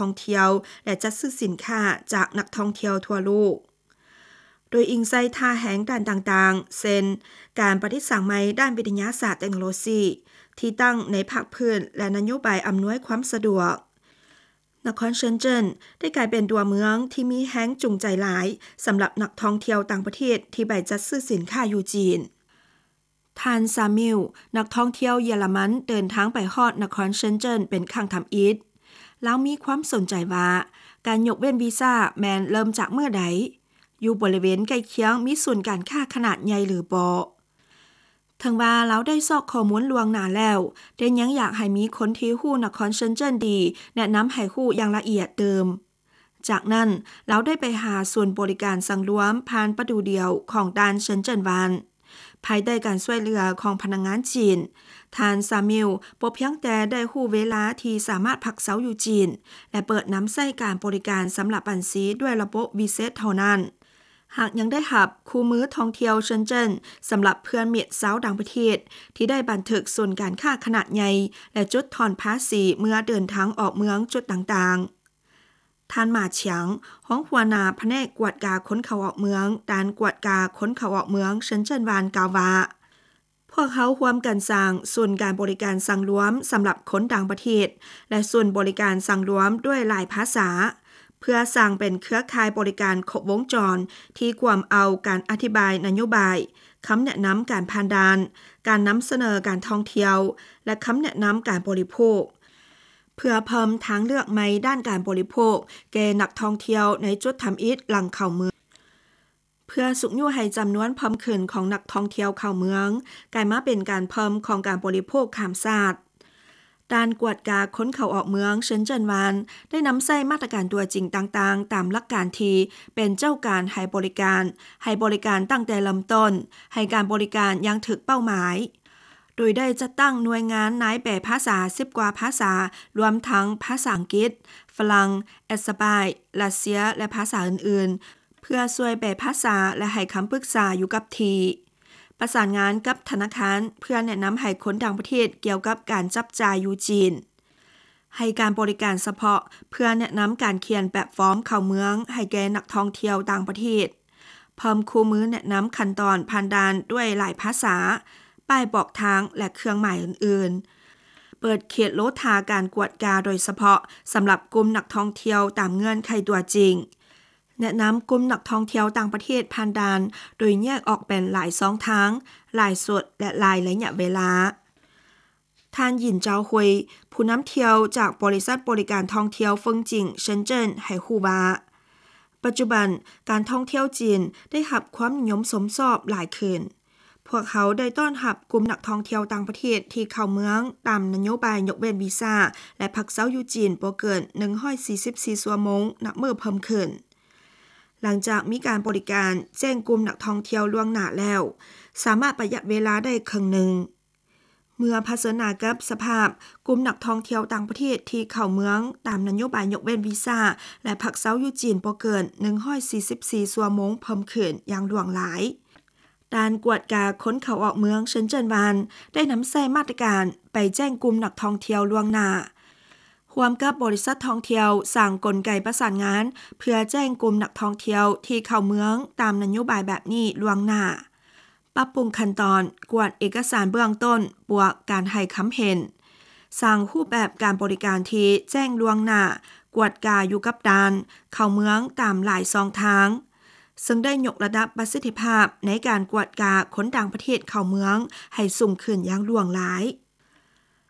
ທ່ອງທ່ຽວ ແລະ ຈັດຊື້ສິນຄ້າຈາກນັກທ່ອງທ່ຽວທົ່ວໂລກ. ໂດຍອີງໃສ່ທ່າແຮງດ້ານຕ່າງໆ ເຊັ່ນ ການປະດິດສ້າງໃໝ່ດ້ານວິທະຍາສາດເຕັກໂນໂລຊີ, ທີ່ຕັ້ງໃນພາກພື້ນ ແລະ ນະໂຍບາຍອຳນວຍຄວາມສະດວກ, ນະຄອນເຊິນເຈິນໄດ້ກາຍເປັນຕົວເມືອງທີ່ມີແຮງຈູງໃຈຫຼາຍສຳລັບນັກທ່ອງທ່ຽວຕ່າງປະເທດທີ່ໄປຈັດຊື້ສິນຄ້າຢູ່ຈີນ. ທ່ານ ຊາມິວ ນັກທ່ອງທ່ຽວເຢຍລະມັນເດີນທາງໄປຮອດນະຄອນເຊິນເຈິນເປັນຄັ້ງທຳອິດ. ລາວມີຄວາມສົນໃຈວ່າ ການຍົກເວັ້ນວີຊາແມ່ນເລີ່ມຈາກເມື່ອໃດ? ຢູ່ບໍລິເວນໃກ້ຄຽງມີສູນການຄ້າຂະໜາດໃຫຍ່ຫຼືບໍ່? ເຖິງວ່າລາວໄດ້ຊອກຂໍ້ມູນລ່ວງໜ້າແລ້ວ, ແຕ່ຍັງຢາກໃຫ້ມີຄົນທີ່ຮູ້ນະຄອນເຊິນເຈິນດີ ແນະນຳໃຫ້ຮູ້ຢ່າງລະອຽດຕື່ມ. ຈາກນັ້ນ, ລາວໄດ້ໄປຫາສູນບໍລິການສັງລວມຜ່ານປະຕູດຽວຂອງດ່ານເຊິນເຈິນວານ. ພາຍໃຕ້ການຊ່ວຍເຫຼືອຂອງພະນັກງານຈີນ, ທ່ານ ຊາມິວ ບໍ່ພຽງແຕ່ໄດ້ຮູ້ເວລາທີ່ສາມາດພັກເຊົາຢູ່ຈີນ ແລະ ເປີດນຳໃຊ້ການບໍລິການສຳລັບບັນຊີດ້ວຍລະບົບວີເຊັດເທົ່ານັ້ນ, ຫາກຍັງໄດ້ຮັບຄູ່ມືທ່ອງທ່ຽວເຊິນເຈິນສຳລັບເພື່ອນມິດຊາວຕ່າງປະເທດ ທີ່ໄດ້ບັນທຶກສູນການຄ້າຂະໜາດໃຫຍ່ ແລະ ຈຸດຜ່ອນພາສີເມື່ອເດີນທາງອອກເມືອງຈຸດຕ່າງໆ. ທ່ານ ໝາ ຊຽງ ຮອງຫົວໜ້າພະແນກກວດກາຄົນເຂົ້າອອກເມືອງ, ດ່ານກວດກາຄົນເຂົ້າອອກເມືອງເຊິນເຈິນວານ ກ່າວວ່າ, ພວກເຮົາຮ່ວມກັນສ້າງສູນການບໍລິການສັງລວມສຳລັບຄົນຕ່າງປະເທດ ແລະ ສູນບໍລິການສັງລວມດ້ວຍຫຼາຍພາສາ, ເພື່ອສ້າງເປັນເຄືອຂ່າຍບໍລິການຄົບວົງຈອນທີ່ກວມເອົາການອະທິບາຍນະໂຍບາຍ, ຄຳແນະນຳການຜ່ານດ່ານ, ການນຳສະເໜີການທ່ອງທ່ຽວ ແລະ ຄຳແນະນຳການບໍລິໂພກ, ເພື່ອເພີ່ມທາງເລືອກໃໝ່ດ້ານການບໍລິໂພກແກ່ນັກທ່ອງທ່ຽວໃນຈຸດທຳອິດຫຼັງເຂົ້າເມືອງ, ເພື່ອຊຸກຍູ້ໃຫ້ຈຳນວນເພີ່ມຂຶ້ນຂອງນັກທ່ອງທ່ຽວເຂົ້າເມືອງ ກາຍມາເປັນການເພີ່ມຂອງການບໍລິໂພກຂ້າມຊາດ. ດ່ານກວດກາຄົນເຂົ້າອອກເມືອງເຊິນເຈິນວານ ໄດ້ນຳໃຊ້ມາດຕະການຕົວຈິງຕ່າງໆ ຕາມຫຼັກການທີ່ເປັນເຈົ້າການໃຫ້ບໍລິການ, ໃຫ້ບໍລິການຕັ້ງແຕ່ເລີ່ມຕົ້ນ, ໃຫ້ການບໍລິການຢ່າງຖືກເປົ້າໝາຍ, ໂດຍໄດ້ຈັດຕັ້ງໜ່ວຍງານນາຍແປພາສາສິບກວ່າພາສາ, ລວມທັງພາສາອັງກິດ, ຝຣັ່ງ, ແອັດສະປາຍ, ຣັດເຊຍ ແລະ ພາສາອື່ນໆ, ເພື່ອຊ່ວຍແປພາສາ ແລະ ໃຫ້ຄຳປຶກສາຢູ່ກັບທີ່, ປະສານງານກັບທະນາຄານ ເພື່ອແນະນຳໃຫ້ຄົນຕ່າງປະເທດກ່ຽວກັບການຈັບຈ່າຍຢູ່ຈີນ, ໃຫ້ການບໍລິການສະເພາະເພື່ອແນະນຳການຂຽນແບບຟອມເຂົ້າເມືອງໃຫ້ແກ່ນັກທ່ອງທ່ຽວຕ່າງປະເທດ, ເພີ່ມຄູ່ມືແນະນຳຂັ້ນຕອນຜ່ານດ່ານດ້ວຍຫຼາຍພາສາ, ປ້າຍບອກທາງ ແລະ ເຄື່ອງໝາຍອື່ນໆ, ເປີດເຂດໂລທາການກວດກາໂດຍສະເພາະສຳລັບກຸ່ມນັກທ່ອງທ່ຽວຕາມເງື່ອນໄຂຕົວຈິງ, ແນະນຳກຸ່ມນັກທ່ອງທ່ຽວຕ່າງປະເທດຜ່ານດ່ານໂດຍແຍກອອກເປັນຫຼາຍຊ່ອງທາງ, ຫຼາຍຊຸດ ແລະ ຫຼາຍໄລຍະເວລາ. ທ່ານ ຫຍິນ ເຈົ້າຮຸຍ ຜູ້ນຳທ່ຽວຈາກບໍລິສັດບໍລິການທ່ອງທ່ຽວເຟິງຈິງເຊິນເຈິນ ໃຫ້ຮູ້ວ່າ, ປັດຈຸບັນການທ່ອງທ່ຽວຈີນໄດ້ຮັບຄວາມນິຍົມຊົມຊອບຫຼາຍຂຶ້ນ. ພວກເຮົາໄດ້ຕ້ອນຮັບກຸ່ມນັກທ່ອງທ່ຽວຕ່າງປະເທດທີ່ເຂົ້າເມືອງຕາມນະໂຍບາຍຍົກເວັ້ນວີຊາ ແລະ ພັກເຊົາຢູ່ຈີນບໍ່ເກີນໜຶ່ງຮ້ອຍສີ່ສິບສີ່ຊົ່ວໂມງນັບມື້ເພີ່ມຂຶ້ນ. ຫຼັງຈາກມີການບໍລິການແຈ້ງກຸ່ມນັກທ່ອງທ່ຽວລ່ວງໜ້າແລ້ວ, ສາມາດປະຢັດເວລາໄດ້ເຄິ່ງໜຶ່ງ. ເມື່ອຜະເຊີນໜ້າກັບສະພາບກຸ່ມນັກທ່ອງທ່ຽວຕ່າງປະເທດທີ່ເຂົ້າເມືອງຕາມນະໂຍບາຍຍົກເວັ້ນວີຊາ ແລະ ພັກເຊົາຢູ່ຈີນບໍ່ເກີນໜຶ່ງຮ້ອຍສີ່ສິບສີ່ຊົ່ວໂມງເພີ່ມຂຶ້ນຢ່າງຫຼວງຫຼາຍ, ດ່ານກວດກາຄົນເຂົ້າອອກເມືອງເຊິນເຈິນວານ ໄດ້ນຳໃຊ້ມາດຕະການໄປແຈ້ງກຸ່ມນັກທ່ອງທ່ຽວລ່ວງໜ້າ, ຮ່ວມກັບບໍລິສັດທ່ອງທ່ຽວສ້າງກົນໄກປະສານງານ ເພື່ອແຈ້ງກຸ່ມນັກທ່ອງທ່ຽວທີ່ເຂົ້າເມືອງຕາມນະໂຍບາຍແບບນີ້ລ່ວງໜ້າ. ປັບປຸງຂັ້ນຕອນກວດເອກະສານເບື້ອງຕົ້ນບວກການໃຫ້ຄຳເຫັນ, ສ້າງຮູບແບບການບໍລິການທີ່ແຈ້ງລ່ວງໜ້າ, ກວດກາຢູ່ກັບດ່ານເຂົ້າເມືອງຕາມຫຼາຍຊ່ອງທາງ, ເຊິ່ງໄດ້ຍົກລະດັບປະສິດທິພາບໃນການກວດກາຄົນຕ່າງປະເທດເຂົ້າເມືອງໃຫ້ສູງຂຶ້ນຢ່າງຫຼວງຫຼາຍ.